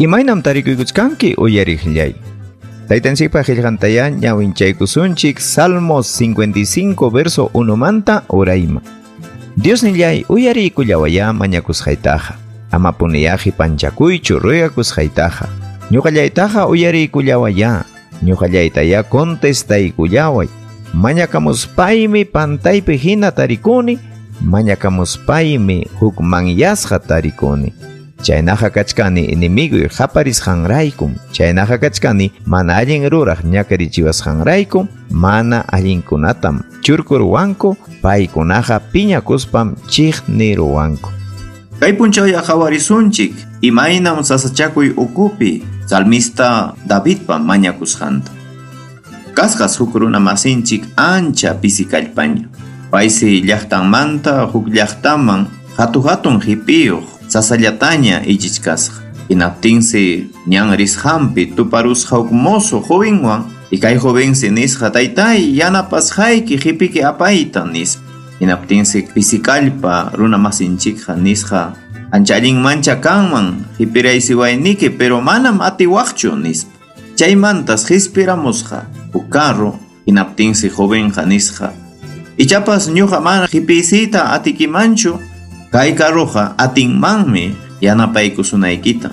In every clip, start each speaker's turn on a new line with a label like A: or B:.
A: Imaynam tarikuykuchkanki uyariqllay. Taytanchikpa qillqantaya ñawinchaykusunchik Salmos 55 verso 1 manta urayma. Diosnillay uyariykullawaya mañakusqaytaqa. Ama puniyá qipanchakuychu ruyakusqaytaqa. Ñuqallaytaqa uyariykullawaya. Ñuqallaytaya contestaykullaway. Mañakamuspaymi pantaypi hina tarikuni, mañakamuspaymi hukmanyasqa tarikuni. Chaynaqa kachkani enemiguy qaparisqanraykum, chaynaqa kachkani mana allin ruraq ñakarichiwasqanraykum, mana allinkunatam churkuruwanku, paykunaqa piñakuspam chiqniruwanku.
B: Kay punchawya qhawarisunchik imaynam sasachakuy ukupi salmista Davidpa mañakusqanta. Kasqas huk runa masinchik ancha pisi kallpaña. Paysi llaqtanmanta huk llaqtaman hatu-hatun qipiyuq sasallataña ichichkasqa. Hinaptinsi ñan risqanpi tuparusqa huk mozo jovenwan y kay jovensi nisqa taytay yanapasqayki qipiki apayta nispa. Hinaptinsi pisi kallpa runa masinchikqa nisqa ancha allinmancha kanman qipiraysiwayniki pero manam atiwaqchu nispa. Chaymantas qispiramusqa huk carro hinaptinsi jovenqa nisqa ichapas ñuqa mana qipisiyta atikimanchu kay carroqa atinmanmi yanapaykusunaykita.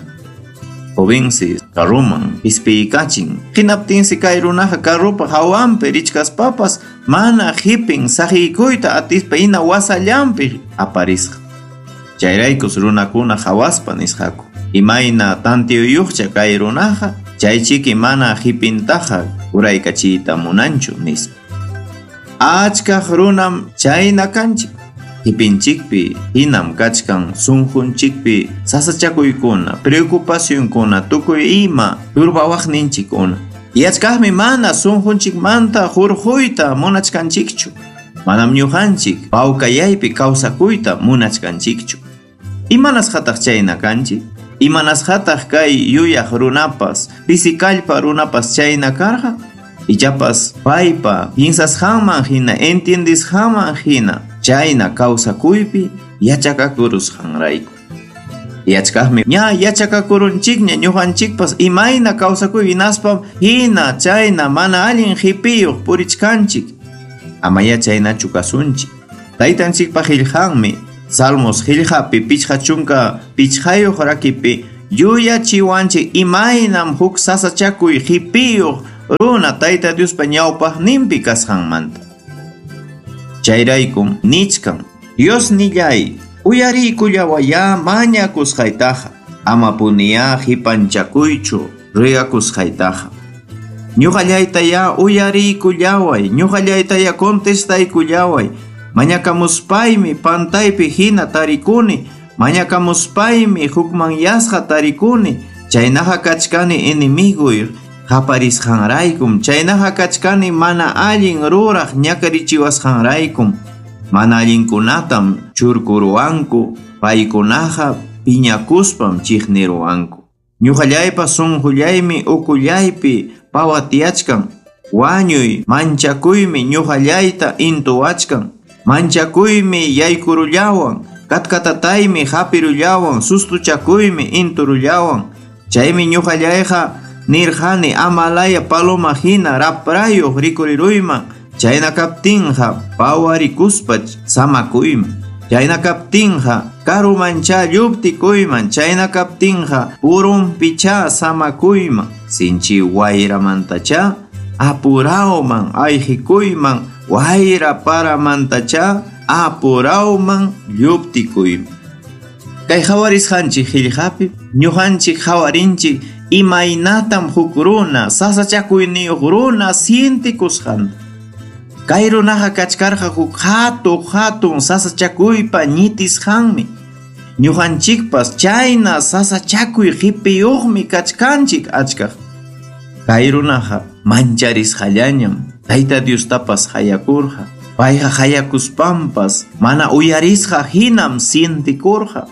B: Jovensi carroman qispiykachin hinaptinsi kay runaqa carropa hawanpi richkaspapas mana qipin saqiykuyta atispa hina wasallanpi aparisqa. Chayraykus runakuna hawaspa nisqaku imayna tantiyuyuqcha kay runaqa chaychiki mana qipintaqa uraykachiyta munanchu nispa. Achkaq runam chayna kanchik. Qipinchikpi hinam kachkan sunqunchikpi sasachakuykuna, preocupacionkuna, tukuy ima turbawaqninchikkuna. Y achkaqmi mana sunqunchikmanta hurquyta munachkanchikchu. Manam ñuqanchik pawkayaypi kawsakuyta munachkanchikchu. Imanasqataq chayna kanchik? Imanasqataq kay yuyaq runapas, pisi kallpa runapas chayna karqa? Ichapas paypa piensasqanman hina, entiendisqanman hina chayna kawsakuypi yachakakurusqanrayku. Yachkaqmi ña yachakakurunchikña ñuqanchikpas imayna kawsakuy hinaspam hina chayna mana allin qipiyuq purichkanchik. Amaya chaynachu kasunchik. Taytanchikpa qillqanmi Salmos qillqapi 55 rakipi yuyachiwanchik imaynam huk sasachakuy qipiyuq runa Tayta Diospa ñawpaqninpi kasqanmanta. Chayraykum nichkan Diosnillay uyariykullawaya mañakusqaytaqa ama puniyá qipanchakuychu ruyakusqaytaqa. Ñuqallaytaya uyariykullaway, ñuqallaytaya contestaykullaway. Mañakamuspaymi pantaypi hina tarikuni, mañakamuspaymi hukmanyasqa tarikuni, chaynaqa kachkani enemiguy qaparisqanraykum, chaynaqa kachkani mana allin ruraq ñakarichiwasqanraykum. Mana allinkunatam churkuruwanku, paykunaqa piñakuspam chiqniruwanku. Ñuqallaypa sunqullaymi ukullaypi pawatiyachkan, wañuy manchakuymi ñuqallayta intuwachkan. Manchakuymi yaykurullawan, katkatataymi hapirullawan, sustuchakuymi inturullawan. Chaymi ñuqallayqa nirqani amalaya paloma hina raprayuq rikuriruyman. Chayna kaptinqa pawarikuspa samakuyman. Chayna kaptinqa karumancha lluptikuyman. Chayna kaptinqa purunpicha samakuyman. Sinchi wayramantacha apurawman ayqikuyman. Wayra paramantacha apurawman lluptikuyman. Kay hawarisqanchik qillqapi ñuqanchik hawarinchik imaynatam huk runa sasachakuyniyuq runa sientikusqanta. Kay runaqa kachkarqa huk hatun sasachakuypa ñitisqanmi. Ñuqanchikpas chayna sasachakuy qipiyuqmi kachkanchik achkaq. Kay runaqa mancharisqallañam Tayta Diostapas hayakurqa. Payqa hayakuspampas mana uyarisqa hinam sientikurqa.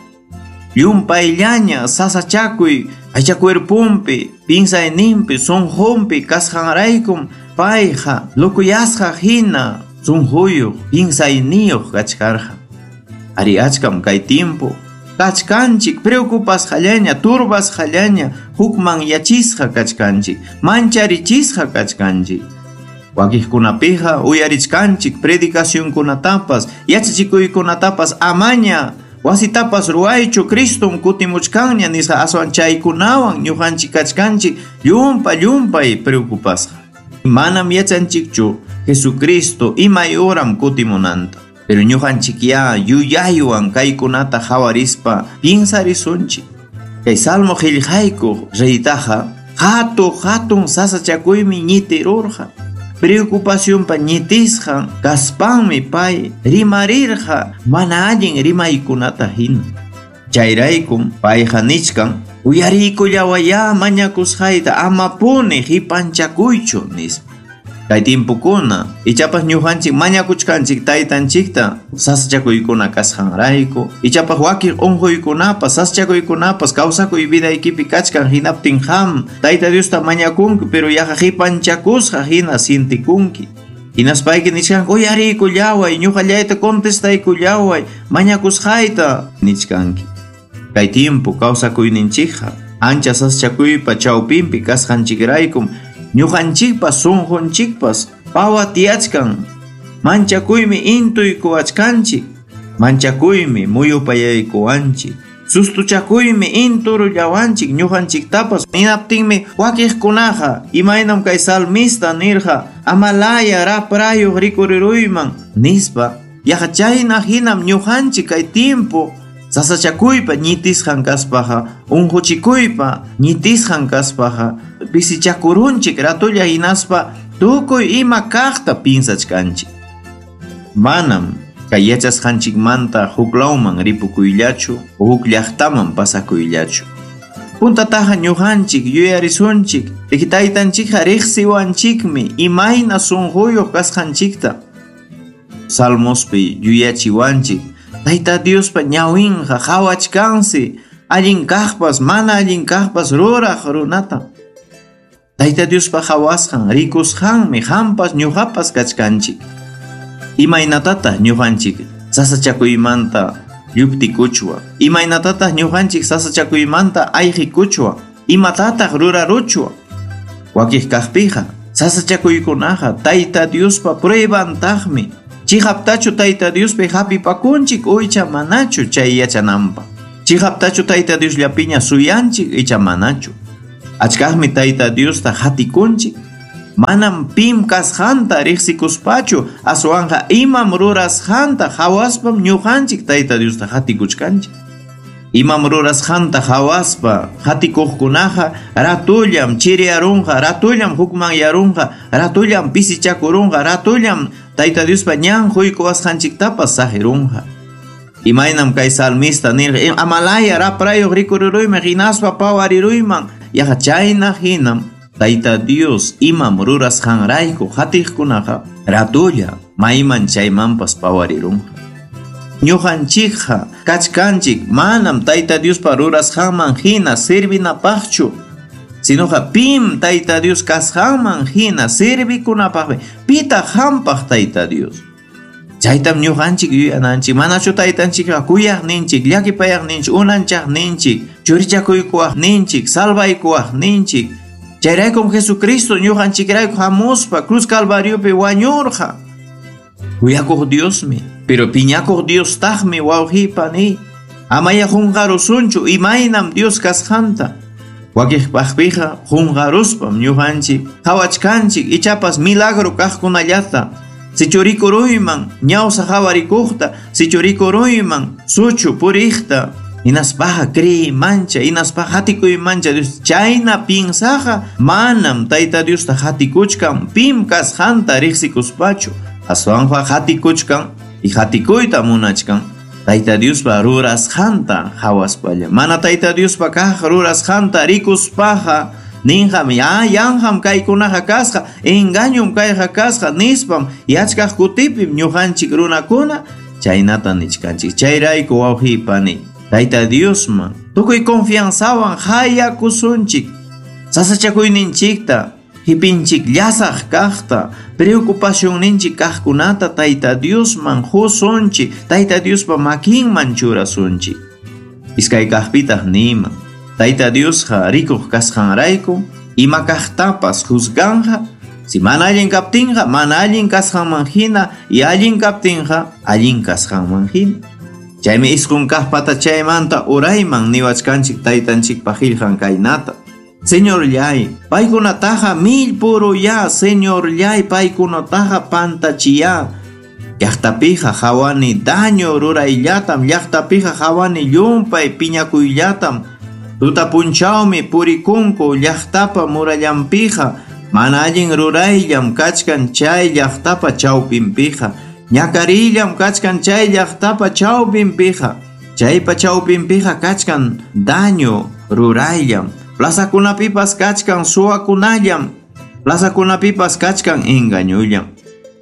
B: Llumpayllaña sasachakuy aycha cuerpunpi, pinsayninpi, sunqunpi kasqanraykum payqa lukuyasqa hina sunquyuq, pinsayniyuq kachkarqa. Ari achkam kay tiempo kachkanchik, preocupasqallaña, turbasqallaña, hukmanyachisqa kachkanchik, mancharichisqa kachkanchik. Wakiqkunapiqa uyarichkanchik predicacionkunatapas, yachachikuykunatapas amaña wasitapas ruwaychu Cristum kutimuchkanña nisqa aswan chaykunawan ñuqanchik kachkanchik llumpa llumpay preocupasqa. Manam yachanchikchu Jesucristo imay uram kutimunanta. Pero ñuqanchik ya yuyaywan kaykunata hawarispa piensarisunchik. Kay Salmo qillqaykuq reytaqa hatu hatun sasachakuymi ñitirurqa. Preocupacionpa ñitisqan kaspanmi pay rimarirqa mana allin rimaykunata hina. Chayraykum payqa nichkan uyariykullawayá mañakusqayta amapuni qipanchakuychu nispa. Kay tiempokuna ichapas ñuqanchik mañakuchkanchik taytanchikta sasachakuykuna kasqanrayku, ichapas wakin unquykunapas sasachakuykunapas kawsakuy vidaykipi kachkan hinaptin qam Tayta Diosta mañakunki, pero yaqa qipanchakusqa hina sientikunki. Hinaspayki nichkanki uyariykullaway, ñuqallayta contestaykullaway, mañakusqayta nichkanki. Kay tiempo kawsakuyninchikqa ancha sasachakuypa chawpinpi kasqanchikraykum ñuqanchikpas sunqunchikpas pawatiyachkan. Manchakuymi intuykuwachkanchik, manchakuymi muyupayaykuwanchik, sustuchakuymi inturullawanchik ñuqanchiktapas. Hinaptinmi wakiqkunaqa imaynam kay salmista nirqa amalaya raprayuq rikuriruyman nispa, yaqa chayna hinam ñuqanchik kay tiempo sasachakuypa ñitisqan kaspaqa, unquchikuypa ñitisqan kaspaqa pisichakurunchik ratulla hinaspa tukuy ima kaqta pinsachkanchik. Manam kay yachasqanchikmanta huklawman ripukuyllachu, huk llaqtaman pasakuyllachu. Puntataqa ñuqanchik yuyarisunchik, taytanchikqa riqsiwanchikmi imayna sunquyuq kasqanchikta. Salmospi yuyachiwanchik Tayta Diospa ñawinqa qhawachkansi allin kaqpas mana allin kaqpas ruraq runata. Tayta Diospa qhawasqan rikusqanmi qampas ñuqapas kachkanchik. Imaynatataq ñuqanchik sasachakuymanta lluptikuchwa, imaynatataq ñuqanchik sasachakuymanta ayqikuchwa, imatataq ruraruchwa. Wakiq kaqpiqa sasachakuykunaqa Tayta Diospa pruebantaqmi. Chihaptachu Tayta Diospi hapipakunchik icha manachu chay yachananpaq. Chihaptachu Tayta Diosllapiña suyanchik icha manachu. Achkaqmi Tayta Diosta hatikunchik. Manam pim kasqanta riqsikuspachu, aswanqa imam rurasqanta hawaspam ñuqanchik Tayta Diosta hatikuchkanchik. Imam rurasqanta hawaspa hatikuqkunaqa ratullam chiriyarunqa, ratullam hukmanyarunqa, ratullam pisichakurunqa, ratullam Tayta Diospa ñan huykuwasqanchiktapas saqirunqa. Imaynam kay salmista nirqa amalaya raprayuq rikururuyman hinaspa pawariruyman, yaqa chayna hinam Tayta Dios imam rurasqanrayku hatiqkunaqa ratulla mayman chaymanpas pawarirunqa. Ñuqanchikqa kachkanchik manam Tayta Diospa rurasqanman hina servinapaqchu, sinoqa pim Tayta Dios kasqanman hina servikunapaqmi. Pitaq hampaq Tayta Dios? Chaytam ñuqanchik yuyananchik. Manachu taytanchikqa kuyaqninchik, llakipayaqninchik, unanchaqninchik, churichakuykuwaqninchik, salvaykuwaqninchik. Chayraykum Jesucristo ñuqanchikrayku hamuspa cruz Calvariopi wañurqa. Kuyakuq Diosmi, pero piñakuq Diostaqmi wawqipani. Amaya qunqarusunchu imaynam Dios kasqanta. Wakiqpaqpiqa qunqaruspam ñuqanchik qhawachkanchik ichapas milagro kaqkunallata. Sichu rikuruyman ñawsa hawarikuqta, sichu rikuruyman suchu puriqta, hinaspaqa criymancha, hinaspaqa hatikuymancha Dios chayna pinsaqa manam Tayta Diosta hatikuchkan pim kasqanta riqsikuspachu, aswanqa hatikuchkan y hatikuyta munachkan Tayta Diospa rurasqanta hawaspalla. Mana Tayta Diospa kaq rurasqanta rikuspaqa ninqam ya yanqam kaykunaqa kasqa, engañum kayqa kasqa nispam yachkaq kutipim ñuqanchik runakuna chaynata nichkanchik. Chayrayku wawqipani Tayta Diosman tukuy confianzawan hayakusunchik, sasachakuyninchikta hipinchik llasaq kaqta, preocupacionninchik kaqkunata Tayta Diosman qusunchik, Tayta Diospa makinman churasunchik. Iskay kaqpitaq niman, Tayta Diosqa rikuq kasqanrayku ima kaqtapas juzganja. Si mana allin kaptinqa, mana allin kasqanman hina, y allin kaptinqa, allin kasqanman hina. Chaymi isqun kaq patachaymanta urayman niwachkanchik taytanchikpa qillqan kaynata. Señorllay, paykunataqa millpuruya, Señorllay, paykunataqa pantachiya. Llaqtapiqa hawani daño rurayllatam, llaqtapiqa hawani llumpay piñakuyllatam. Tuta punchawmi purikunku llaqtapa murallanpiqa, mana allin rurayllam kachkan chay llaqtapa chawpinpiqa, ñakarillam kachkan chay llaqtapa chawpinpiqa, chaypa chawpinpiqa kachkan daño rurayllam. Plazakunapipas kachkan suwakunallam, plazakunapipas kachkan engañullam.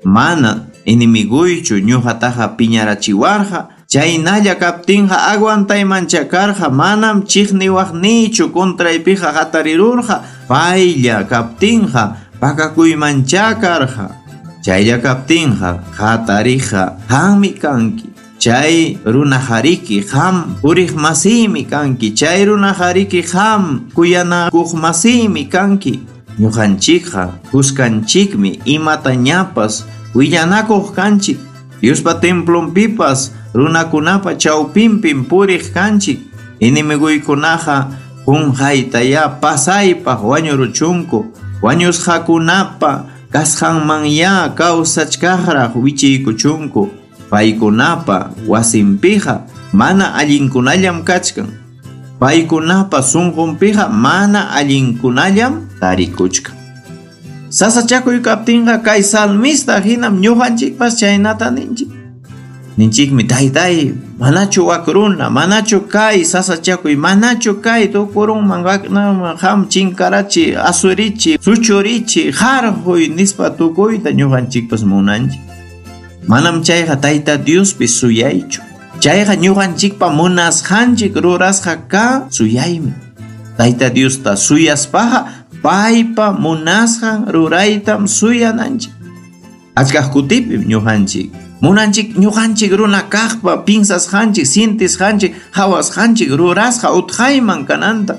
B: Mana enemiguychu ñuqataqa piñarachiwarqa, chaynalla kaptinqa aguantaymancha karqa, manam chiqniwaqniychu contraypiqa hatarirurqa, paylla kaptinqa pakakuymancha karqa. Chaylla kaptinqa hatariqa qammi kanki. Chay runajariki qam puriq masiymi kanki. Chay runajariki qam kuyanakuq masiymi kanki. Ñuqanchikqa kuskanchikmi imatañapas willanakuq kanchik. Diospa templonpipas runakunapa chawpinpim puriq kanchik. Enemiguykunaqa qunqaytaya pasaypaq wañuruchunku. Wañusqakunapa kasqanmanya kawsachkaqraq wichiykuchunku. Paykunapa wasinpiqa mana allinkunallam kachkan. Paykunapa sunqunpiqa mana allinkunallam tarikuchkan. Sasachakuy kaptinqa kay salmista hinam ñuqanchikpas chaynata ninchik. Ninchikmi, taytay, manachu wak runa, manachu kay sasachakuy, manachu kay tukurunman waknaman qam chinkarachi, asurichi, suchurichi, harquy nispa tukuyta ñuqanchikpas munanchik. Manam chayqa Tayta Diospi suyaychu. Chayqa ñuqanchikpa munasqanchik rurasqa ka suyaymi. Tayta Diosta suyaspaqa paypa munasqan ruraytam suyananchik. Achkaq kutipim ñuqanchik munanchik ñuqanchik runa kaqpa pinsasqanchik, sientisqanchik, hawasqanchik rurasqa utqayman kananta.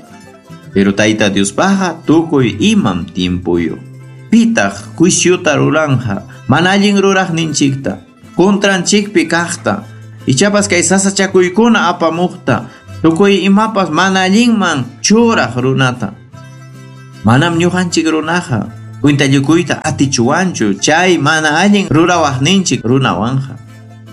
B: Pero Tayta Diospaqqa tukuy imam tiempuyuq. Pitaq juiciota ruranja, mana allin ruraqninchikta, contranchikpi kaqta, ichapas kay sasachakuykuna apamuqta, tukuy imapas mana allinman churaq runata. Manam ñuqanchik runaqa cuentallukuyta atichuwanchu chay mana allin rurawaqninchik runawanja.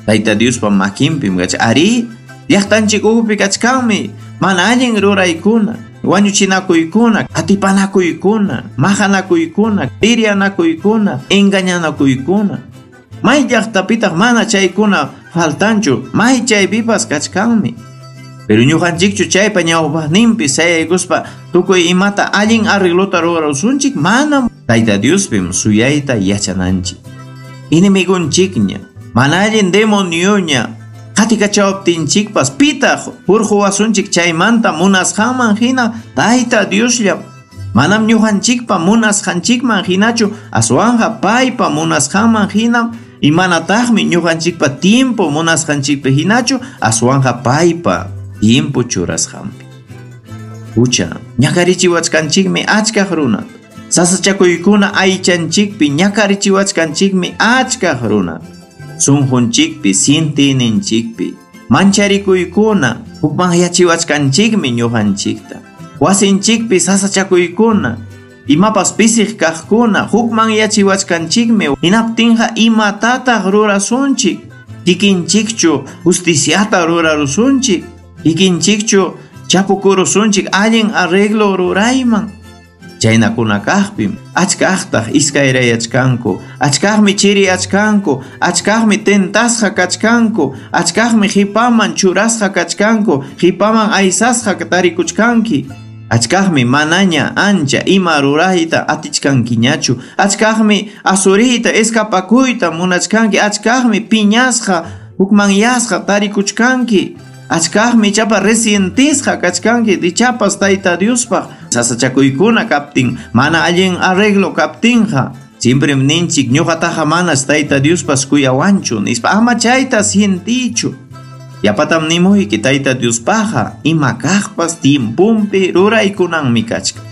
B: Tayta Diospa makinpim kachkan. Ari, llaqtanchik ukhupi kachkanmi mana allin ruraykuna, wañuchinakuykuna, atipanakuykuna, maqanakuykuna, pirianakuykuna, engañanakuykuna. May llaqtapitaq mana chaykuna faltanchu, may chaypipas kachkanmi. Pero ñuqanchikchu chaypa ñawpaqninpi sayaykuspa tukuy imata allin arreglota rurarusunchik, manam. Tayta Diospim suyayta yachananchik. Enemigunchikña, mana allin demonioña qatikachawaptinchikpas pitaq hurquwasunchik chaymanta munasqanman hina Tayta Diosllam. Manam ñuqanchikpa munasqanchikman hinachu, aswanqa paypa munasqanman hinam, y manataqmi ñuqanchikpa tiempo munasqanchikpi hinachu, aswanqa paypa tiempo churasqanpi. Hucha, ñakarichiwachkanchikmi achkaq runata. Sasachakuykuna aychanchikpi ñakarichiwachkanchikmi achkaq runata. Sunqunchikpi, sientininchikpi, mancharikuykuna hukmanyachiwachkanchikmi ñuqanchikta. Wasinchikpi sasachakuykuna, imapas pisiq kaqkuna hukmanyachiwachkanchikmi. Hinaptinqa imatataq rurasunchik? Kikinchikchu justiciata rurarusunchik? Kikinchikchu chapukurusunchik allin arreglo rurayman? Chaynakuna kaqpim achkaqtaq iskayrayachkanku, achkaqmi chiriyachkanku, achkaqmi tentasqa kachkanku, achkaqmi qipaman churasqa kachkanku, qipaman aysasqa tarikuchkanki. Achkaqmi manaña ancha ima rurayta atichkankiñachu, achkaqmi asuriyta escapakuyta munachkanki, achkaqmi piñasqa hukmanyasqa tarikuchkanki. Achkaqmi ichapa resientisqa kachkanki, ichapas Tayta Diospaq sasachakuykuna kaptin, mana allin arreglo kaptinqa. Siemprem ninchik ñuqataqa manas Tayta Diospas kuyawanchu nispa, ama chayta sientichu. Yapatam nimuyki Tayta Diospaqqa ima kaqpas tiempompi ruraykunanmi kachkan.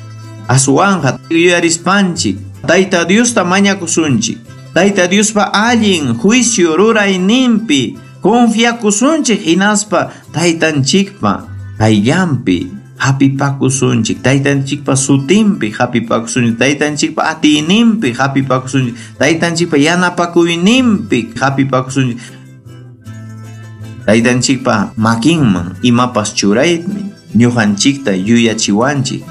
B: Aswanqa yuyarispanchik Tayta Diosta mañakusunchik. Tayta Diospa allin juicio rurayninpi confiakusunchik hinaspa Taytanchikpa qayllanpi hapipakusunchik, Taytanchikpa sutinpi hapipakusunchik, Taytanchikpa atiyninpi hapipakusunchik, Taytanchikpa yanapakuyninpi hapipakusunchik. Taytanchikpa makinman imapas churaymi ñuqanchikta yuyachiwanchik.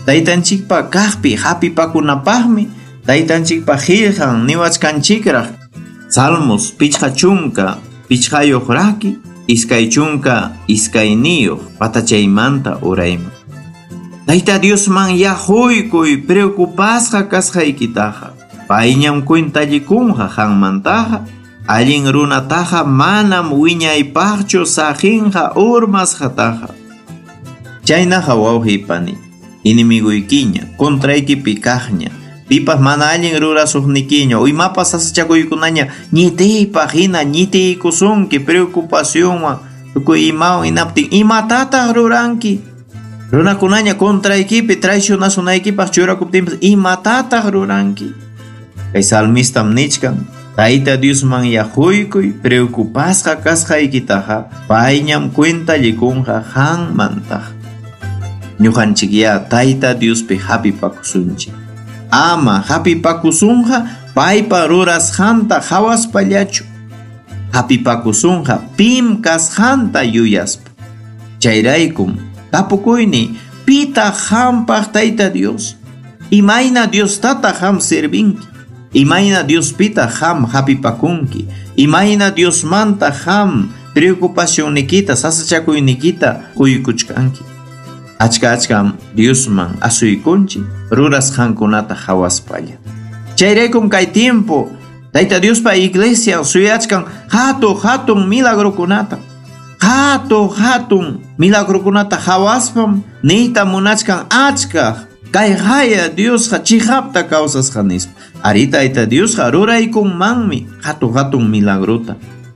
B: Taytanchikpa kaqpi hapipakunapaqmi Taytanchikpa qillqan niwachkanchikraq. Salmos 55 raki 22 patachaymanta urayman. Tayta Diosman yahuykuy preocupasqa kasqaykitaqa. Payñam cuentallikunqa qanmantaqa. Allin runataqa manam wiñaypaqchu saqinqa urmasqataqa. Chaynaqa wawqipani, inimiguykiña, contraykipi kaqña, pipas mana allin rurasuqnikiña, imapas sasachakuykunaña ñitiypaq hina ñitiykusunki preocupacionwan tukuy imawan hinaptin imatataq ruranki. Runakunaña contraykipi traicionasunaykipaq churakuptinpas imatataq ruranki. Kay salmistam nichkan, Tayta Diosman yahuykuy preocupasqa kasqaykitaqa payñam cuentallikunqa qanmantaq. Ñuqanchikya Tayta Diospi hapipakusunchik. Ama hapipakusunqa paypa rurasqanta hawaspallachu. Hapipakusunqa pim kasqanta yuyaspa. Chayraykum tapukuyni pitaq qampaq Tayta Dios? Imayna Diostataq qam servinki? Imayna Diospita qam hapipakunki? Imayna Diosmanta qam preocupacionnikita, sasachakuynikita quykuchkanki? Achka achkam Diosman asuykunchik rurasqankunata hawaspalla. Chayraykum kay tiempo Tayta Diospa iglesia suyachkan hatun hatun milagrokunata. Hatun hatun milagrokunata hawaspam niyta munachkan achkaq kay haya Diosqa chiqapta kawsasqa nispa. Ari Tayta Diosqa ruraykunmanmi hatun hatun milagrota.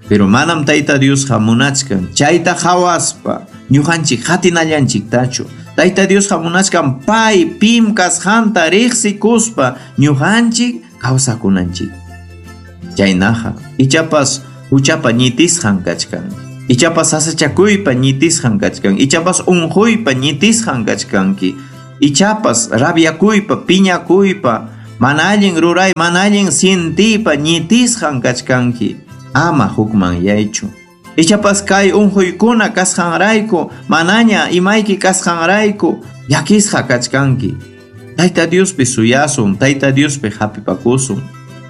B: Pero manam Tayta Diosqa munachkan chayta hawaspa ñuqanchik hatinallanchiktachu. Tayta Diosqa munachkan pay pim kasqanta riqsikuspa ñuqanchik kawsakunanchik. Chaynaqa ichapas huchapa ñitisqan kachkan. Ichapas sasachakuypa ñitisqan kachkan. Ichapas unquypa ñitisqan kachkanki. Ichapas rabiakuypa, piñakuypa, mana allin ruray, mana allin sientiypa ñitisqan kachkanki. Ama hukmanyaychu. Ichapas kay unquykuna kasqanrayku, manaña imayki kasqanrayku, llakisqa kachkanki. Tayta Diospi suyasun, Tayta Diospi hapipakusun.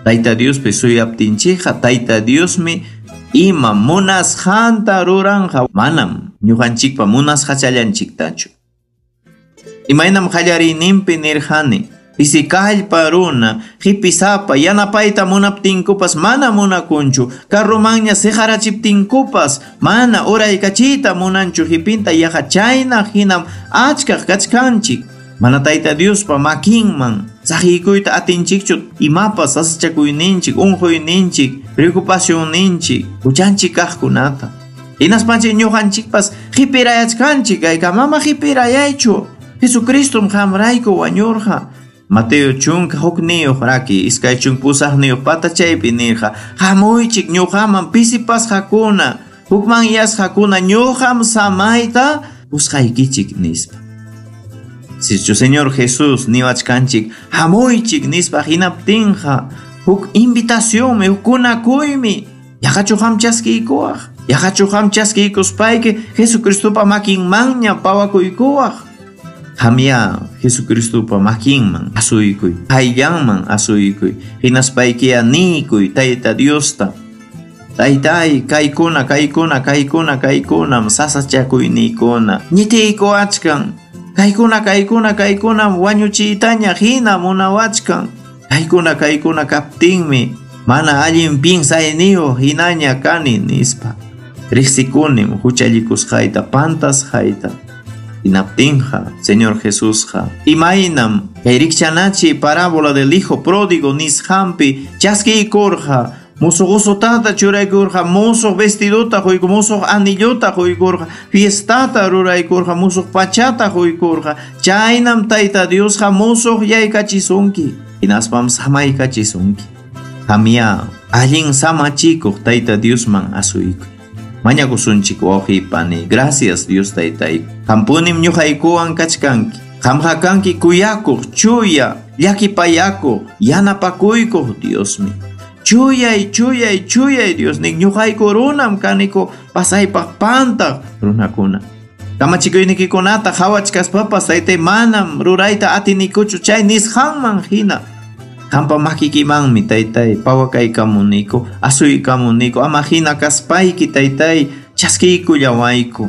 B: Tayta Diospi suyaptinchikqa, Tayta Diosmi ima munasqanta ruranqa, manam ñuqanchikpa munasqachallanchiktachu. Imaynam qallariyninpi nirqani, pisikallpa runa, hipisapa, yanapayta munaptinkupas mana munakunchu, carromanña siqarachiptinkupas mana uraykachiyta munanchu, hipinta yaqa chayna hinam achkaq kachkanchik. Mana Tayta Diospa makinman saqiykuyta atinchikchu imapas sasachakuyninchik, unquyninchik, preocupacionninchik, huchanchik kaqkunata. Hinaspanchik ñuqanchikpas hipirayachkanchik, kayka mama hipirayaychu. Jesucristum qamrayku wañurqa. Mateo 11 raki 28 patachaypi nirqa, hamuychik ñuqaman pisipasqakuna, hukmanyasqakuna, ñuqam samayta qusqaykichik nispa. Sichu Señor Jesús niwachkanchik hamuychik nispa hinaptinqa huk invitacionmi, huk kunakuymi. Yaqachu qam chaskiykuwaq? Yaqachu qam chaskiykuspayki Jesucristopa makinmanña pawakuykuwaq? Qamya Jesucristopa makinman asuykuy, qayllanman asuykuy, hinaspaykiya niykuy Tayta Diosta. Taytay, kaykuna, kaykuna, kaykuna, kaykunam sasachakuyniykuna. Ñitiykuwachkan. Kaykuna, kaykuna, kaykunam wañuchiytaña hina munawachkan. Kaykuna, kaykuna kaptinmi mana allin piensayniyuq hinaña kani nispa. Riqsikunim huchallikusqayta, pantasqayta. Hinaptinqa, Señor Jesusqa, imaynam kay rikchanachi parábola del hijo pródigo nisqanpi chaskiykurqa Musuq usutata churaykurqa, musuq vestidota quykur, musuq anillota quykurqa, fiestata ruraykurqa, musuq pachata quykurqa. Chaynam Tayta Diosqa musuq yaykachisunki, hinaspam samaykachisunki. Qamya allin samachikuq Tayta Diosman asuykuy. Mañakusunchik wawqi pani. Gracias Dios Taytayku. Qampunim ñuqaykuwan kachkanki. Qamqa kanki kuyakuq, chuya, llakipayakuq, yanapakuykuq Diosmi. Chuyay, chuyay, chuyay Diosnin, ñuqayku runam kaniku pasaypaq pantaq runakuna. Kamachikuynikikunata qhawachkaspapas taytay manam rurayta atinikuchu chay nisqanman hina. Qampa makikimanmi taytay pawakaykamuniku, asuykamuniku, ama hina kaspayki taytay chaskiykullawayku.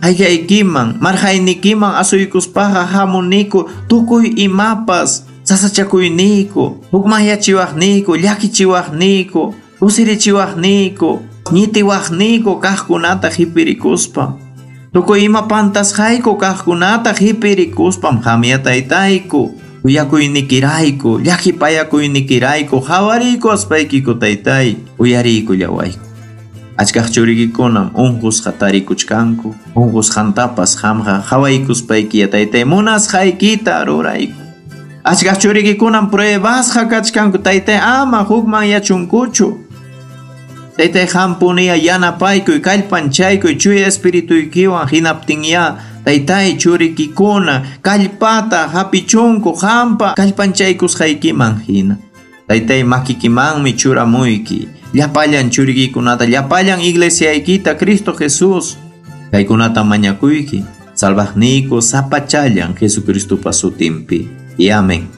B: Qayllaykiman, marqaynikiman asuykuspaqa hamuniku tukuy imapas sasachakuyniku, hukmanyachiwaqniku, llakichiwaqniku, kusirichiwaqniku, ñitiwaqniku kaqkunata qhipirikuspa. Tukuy ima pantasqayku kaqkunata qhipirikuspam qamya taytayku, kuyakuynikirayku, llakipayakuynikirayku, qhawariykuwaspaykiku taytay, uyariykullawayku. Achkaq churikikunam unqusqa tarikuchkanku, unqusqantapas qamqa qhawaykuspayki taytay munasqaykita rurayku. Achkaq churikikunam pruebasqa kachkanku taytay ama hukmanyachunkuchu. Taytay qampuniya yanapaykuy, kallpanchaykuy chuya espirituykiwan hinaptinya taytay churikikuna kallpata hapichunku qampa kallpanchaykusqaykiman hina. Taytay makikimanmi churamuyki, llapallan churikikunata, llapallan iglesiaykita Cristo Jesús. Kaykunata mañakuyki, salvaqniyku sapachallan Jesucristopa sutinpi. Y amén.